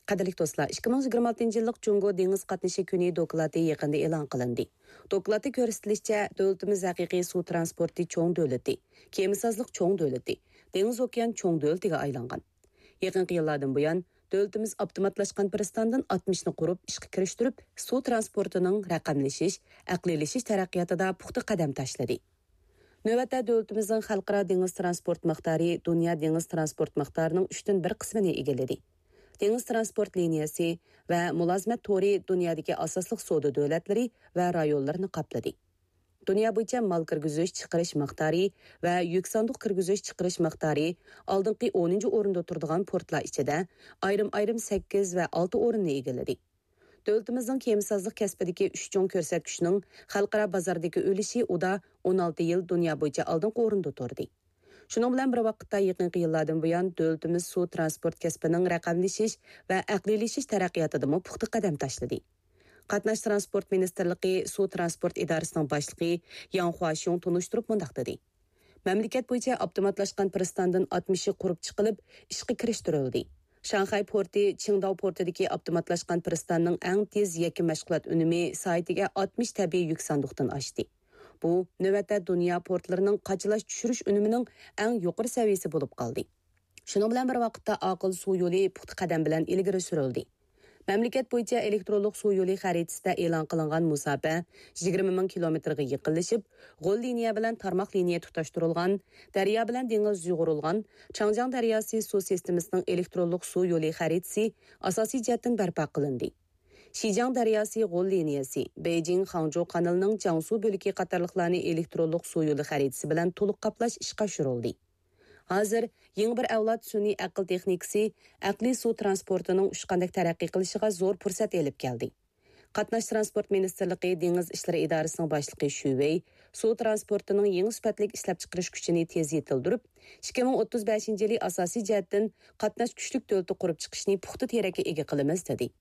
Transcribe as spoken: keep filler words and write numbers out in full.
قەدىرلىك دوستلار، ئىككى مىڭ يىگىرمە ئالتىنچى يىللىق جۇڭگو دېڭىز قاتنىشى كۈنى دوكلاتى يېقىندا ئېلان قىلىندى. دوكلاتتا كۆرسىتىلىشىچە، دۆلىتىمىز ھەقىقىي سۇ ترانسپورتى چوڭ دۆلىتى، كېمىسازلىق چوڭ دۆلىتى، دېڭىز ئوكيان چوڭ دۆلىتىگە ئايلانغان. يېقىنقى يىللاردىن بۇيان، دۆلىتىمىز ئاپتوماتلاشقان پىرىستاندىن ئاتمىشنى قۇرۇپ ئىشقا كىرىشتۈرۈپ، سۇ ترانسپورتىنىڭ رەقەملىشىش، ئەقلىيلىشىش تەرەققىياتىدا پۇختا قەدەم تاشلىدى. نۆۋەتتە دۆلىتىمىزنىڭ خەلقئارا دېڭىز ترانسپورت مىقدارى دۇنيا دېڭىز ترانسپورت مىقدارىنىڭ ئۈچتىن بىر قىسمىنى ئىگىلىدى. دېڭىز ترانسپورت لىنىيەسى ۋە مۇلازىمەت تورى دۇنيادىكى ئاساسلىق سودا دۆلەتلىرى ۋە رايونلىرىنى قاپلىدى. دۇنيا بويىچە مال كىرگۈزۈش چىقىرىش مىقدارى ۋە يۈك ساندۇق كىرگۈزۈش چىقىرىش مىقدارى ئالدىنقى ئونىنچى ئورۇندا تۇرىدىغان پورتلار ئىچىدە ئايرىم-ئايرىم سەككىز ۋە ئالتە ئورۇننى ئىگىلىدى. دۆلىتىمىزنىڭ كېمىسازلىق كەسپىدىكى ئۈچ چوڭ كۆرسەتكۈچنىڭ خەلقئارا بازاردىكى ئۈلۈشى ئۇدا ئون ئالتە يىل دۇنيا بويىچە ئالدىنقى ئورۇندا تۇردى. شۇنىڭ بىلەن بىر ۋاقىتتا، يېقىنقى يىللاردىن بۇيان دۆلىتىمىز سۇ ترانسپورت كەسپىنىڭ رەقەملىشىش ۋە ئەقلىيلىشىش تەرەققىياتىدىمۇ پۇختا قەدەم تاشلىدى. قاتناش ترانسپورت مىنىستىرلىقى سۇ ترانسپورت ئىدارىسىنىڭ باشلىقى ياڭ خۇاشيۇڭ تونۇشتۇرۇپ مۇنداق دېدى: مەملىكەت بويىچە ئاپتوماتلاشقان پىرىستاندىن ئاتمىشى قۇرۇپ چىقىلىپ، ئىشقا كىرىشتۈرۈلدى. شاڭخەي پورتى چىڭداۋ پورتىدىكى ئاپتوماتلاشقان پىرىستاننىڭ ئەڭ تېز يەككە مەشغۇلات ئۈنۈمى سائىتىگە ئاتمىش تەبىئىي يۈك ساندۇقتىن ئاشتى. بۇ، نۆۋەتتە دۇنيا پورتلىرىنىڭ قاچىلاش چۈشۈرۈش ئۈنۈمىنىڭ ئەڭ يۇقىرى سەۋىيەسى بولۇپ قالدى. شۇنىڭ بىلەن بىر ۋاقىتتا، ئاقىل سۇ يولى پۇختا قەدەم بىلەن ئىلگىرى سۈرۈلدى. مەملىكەت بويىچە ئېلېكترونلۇق سۇ يولى خەرىتىسىدە ئېلان قىلىنغان مۇساپە يىگىرمە مىڭ كىلومېتىرغا يېقىنلىشىپ، غول لىنىيە بىلەن تارماق لىنىيە تۇتاشتۇرۇلغان، دەريا بىلەن دېڭىز يۇغۇرۇلغان چاڭجياڭ دەرياسى سۇ سىستېمىسىنىڭ ئېلېكترونلۇق سۇ يولى خەرىتىسى ئاساسىي جەھەتتىن بەرپا قىلىندى. شىجياڭ دەرياسى غول لىنىيەسى، بېيجىڭ خاڭجۇ قانىلىنىڭ جياڭسۇ بۆلىكى قاتارلىقلارنى ئېلېكترونلۇق سۇ يولى خەرىتىسى بىلەن تولۇق قاپلاش ئىشقا ئاشۇرۇلدى. ھازىر يېڭى بىر ئەۋلاد سۈنئىي ئەقىل تېخنىكىسى ئەقلىي سۇ ترانسپورتىنىڭ ئۇچقاندەك تەرەققىي قىلىشىغا زور پۇرسەت ئېلىپ كەلدى. قاتناش ترانسپورت مىنىستىرلىقى دېڭىز ئىشلىرى ئىدارىسىنىڭ باشلىقى شۈ ۋېي سۇ ترانسپورتىنىڭ يېڭى سۈپەتلىك ئىشلەپچىقىرىش كۈچىنى تېز يېتىلدۈرۈپ، ئىككى مىڭ ئوتتۇز بەشىنچى يىلى ئاساسىي جەھەتتىن قاتناش كۈچلۈك دۆلىتى قۇرۇپ چىقىشنى پۇختا تىرەككە ئىگە قىلىمىز، دېدى.